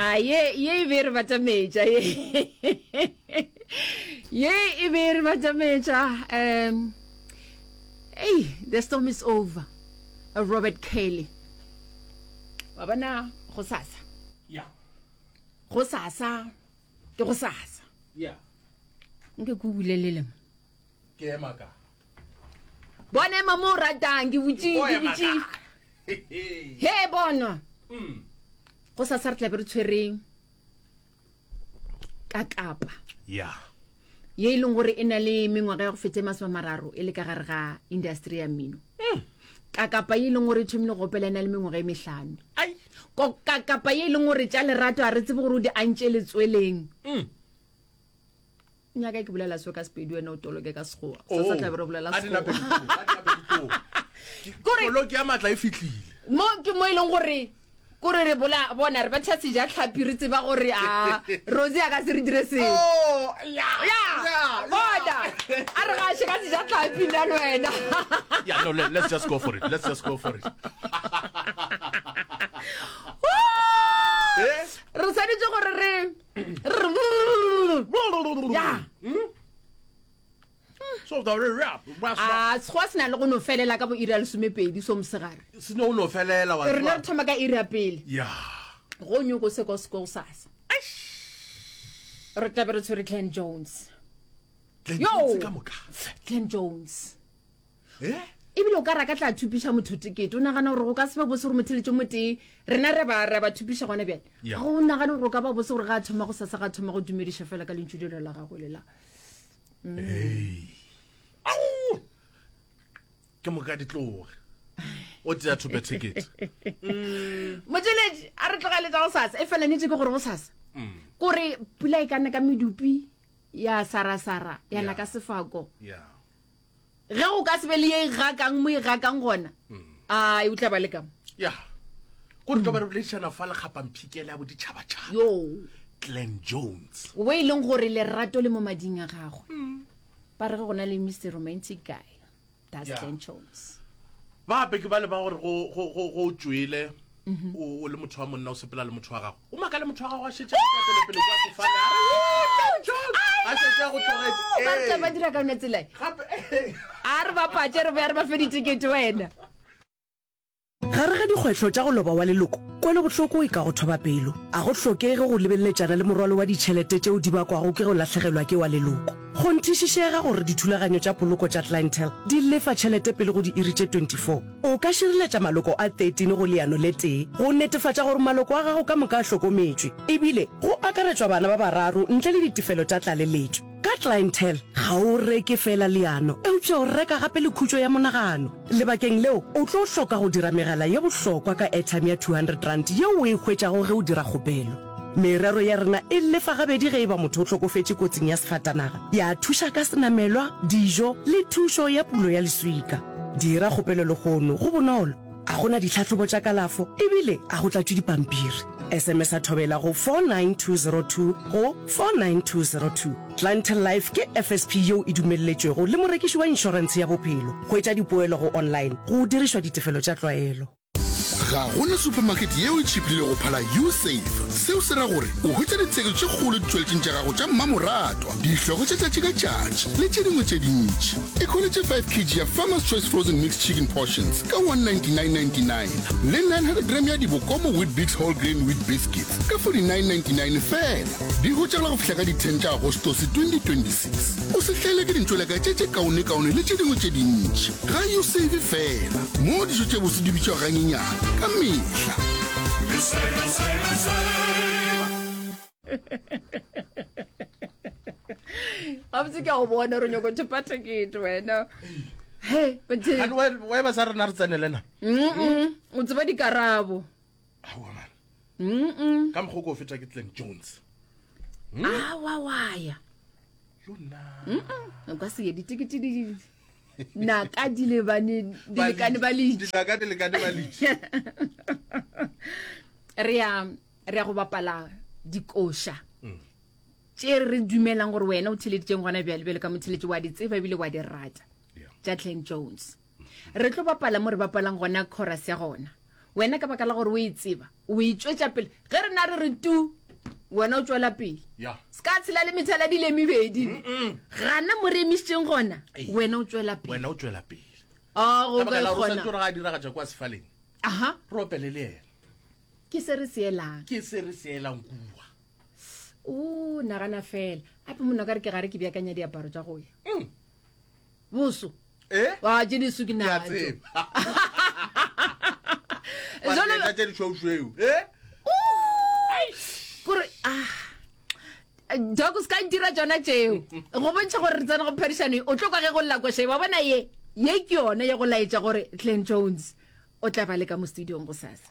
A ye ye e be re batametša ye. Ye e be re batametša um Hey, the storm is over. Robert Kelly. Wa bona go sasa. Yeah. Go sasa ke go sasa. Yeah. Nke ke bulelele mo. Ke ema ka. Bona ema mo o ratang ke butše ke butše. He bona. Mm. Go sasa re tla be re tshwereng ka kapa. Yeah. Ye e leng gore e na le mengwaga ya go feta e masomamararo e le ka gare ga industry ya mmino. Mm. Ka kapa ye e leng gore e thomile go opela e na le mengwaga e mehlano. Ai. Ko ka kapa ye e leng gore tša lerato a re tsebe gore o di antše letsweleng. Mm. Nyaka ke bolela so ka Sepedi wena o toloke ka Sekgowa. Oh. Sa sa tla be re bolela A di nape Sekgowa. di tlo, a di nape di tlo. Kore- Koloi ya matla e fihlile. Mo ke mo e leng gore kore re bola bona re betha seja tlhapi re tseba gore a Rosie a ka se re dire selo. Oh, ya. Ya, bona. A re gaše ka seja tlhapi nna le wena. Yeah, no, let, let's just go for it. Let's just go for it. Eh? Re swanetše gore re ya So the rap, rap, a sekgowa se na le go no felela ka bo iri ya lesomepedi so mosegare se no no felela wa. rena re thoma ka iri ya pele Yeah. go nyoko se ko seko sasa re tlabe re tshwere Glenn Jones Glenn Yo! Jones ka moka. Glenn Jones Eh? Ebile o ka re a ka tla thupiša motho tekete. O nagana gore go ka se be bose gore motheletši o motee rena re ba re ba thupiša gona bjale? Yeah. Ga o nagane gore o ka ba bose gore ga a thoma go sasa ga a thoma go dumediša fela ka lentšu lelo la gagwe le la. Hey. Au! Ke moka di tloge. O tšea thope ticket. Motšweletši a re tlogele tša go sasa. E fela nnete ke gore go sasa. Kore pula e ka na ka medupi ya sarasara ya na Yeah. ka sefako. Yeah. Ge go ka se be le ye e gakang mo e gakang gona, ai o tla ba le ka mo. Ya. Ko re tlo ba re boledišana fa lekgapamphikele ya boditšhabatšhaba. Yo. Glenn Jones. O e leng gore lerato le mo mading a gagwe. Ba re ge go na le Mr Romantic Guy, that's Yeah. Glenn Jones. Ba gape ke ba le ba gore go go go go tšwele o o le motho wa monna o sepela le motho wa gago. O makale motho wa gago a šetše a tšwa pele pele kwa sefane a re, "Woo, Glenn Jones!" A šetše a go tlogetše. Ba re tla ba Ee. dira ka yona tsela e. Gape ee. A re bapatše re be re ba fe ditekete wena. Gare ga dikgwetlho tša go loba wa leloko, kwelobohloko e ka go thoba pelo. A go hlokege go lebeleletšana le morwalo wa ditšhelete tšeo di bakwago ke go lahlegelwa ke wa leloko. Kgonthišišega gore dithulaganyo tša poloko tša Clientele di lefa tšhelete pele go diiri tše 24. O ka šireletša maloko a 13 go leano le tee go netefatša gore maloko a gago ka moka a hlokometšwe, ebile go akaretšwa bana ba bararo ntle le ditefelo tša tlaleletšo. Ka Clientele, ga o reke feela leano, eupša o reka gape le khutšo ya monagano. Lebakeng leo, o tlo hloka go dira megala ye bohlokwa ka airtime ya R200 yeo o e hwetšago ge o dira kgopelo. Merero ya rena e lefa gabedi ge e ba motho o hlokofetše kotsing ya sefatanaga, ya thuša ka senamelwa, dijo le thušo ya pulo ya leswika. Dira kgopelo lehono, go bonolo, a go na ditlhahlobo tša kalafo ebile a go tlatšwe dipampiri. SMS-a Thobela go 49202 go 49202. Clientele Life ke FSP yeo e dumelletšwego le morekiši wa inšorentshe ya bophelo. Hwetša dipoelo go online go dirišwa ditefelo tša tlwaelo. Ga go na supermarket yeo e tšhiphilego go phala U-Save. Seo se ra gore o hwetša ditheko tše kgolo ditšweletšing tša gago tša mmamoratwa, dihlogo tša tšatši ka tšatši le tše dingwe tše dintši. Ikhweletše 5 kg ya Farmer's Choice Frozen Mixed Chicken Portions ka 199.99 le 900 gram ya Dibokomo Weet-Bix Whole Grain Wheat Biscuits ka 49.99 feela. Di hwetšagala go fihla ka di 10 tša Agostose 2026. O se hlaelwe ke dintšoleka tše tše kaonekaone le tše dingwe tše dintši. Ga U save fela, moo dijo tše bose di bitšwago ganyenyane ka mehla. Gabotse ke a go bona gore o nyako thopa tekete wena. He, but Gane wa wa ba sa rena re tsenele na. Mm-mm, o tseba dikarabo. Aowa man. Mm-mm. Ka mokgwa o ko feta ke Glenn Jones. Awa wa ya. Yo nna. Mm-mm, o ka se ye ditekete di naka di lebane di lekane ba litše. Dinaka di lekane ba litše. Re ya re ya go bapala dikoša. Tše re dumelang gore wena o theleditšeng gona bjale bjale ka motheletši wa di tseba ebile wa di rata. Yeah. Tša Glenn Jones. Re tlo bapala mo re bapalang gona chorus ya gona. Wena ka baka la gore o e tseba, o e tšwetša pele. Ge rena re re tu, wena o tšwela pele. Ya. Se ka tshela le methaladi le mebedi. Gana mo re emišitšeng gona, wena o tšwela pele. Wena o tšwela pele. A go Ka baka ka la gore o kgona. swanetše gore ga a diragatša kwa sefaleng, Aha. re opele le yena. Ke se re se elang. Ke se re se elang kua. O nagana fela. Gape monna ka re ke gare ke beakanya diaparo tša go ya. Boso. Eh? Wa tše diso ke Ke a natšo. tseba. Jwale- Wa tše dišweušweu. Eh? Kore ah Doc o se ka ntira tšona tšeo. Go bontšha gore re tsena go phadišano ye, o tlo kwa ge go lla koša ye. Wa bona ye, ye ke yona ya go laetša gore Glen Jones o tla ba le ka mo studiong gosasa.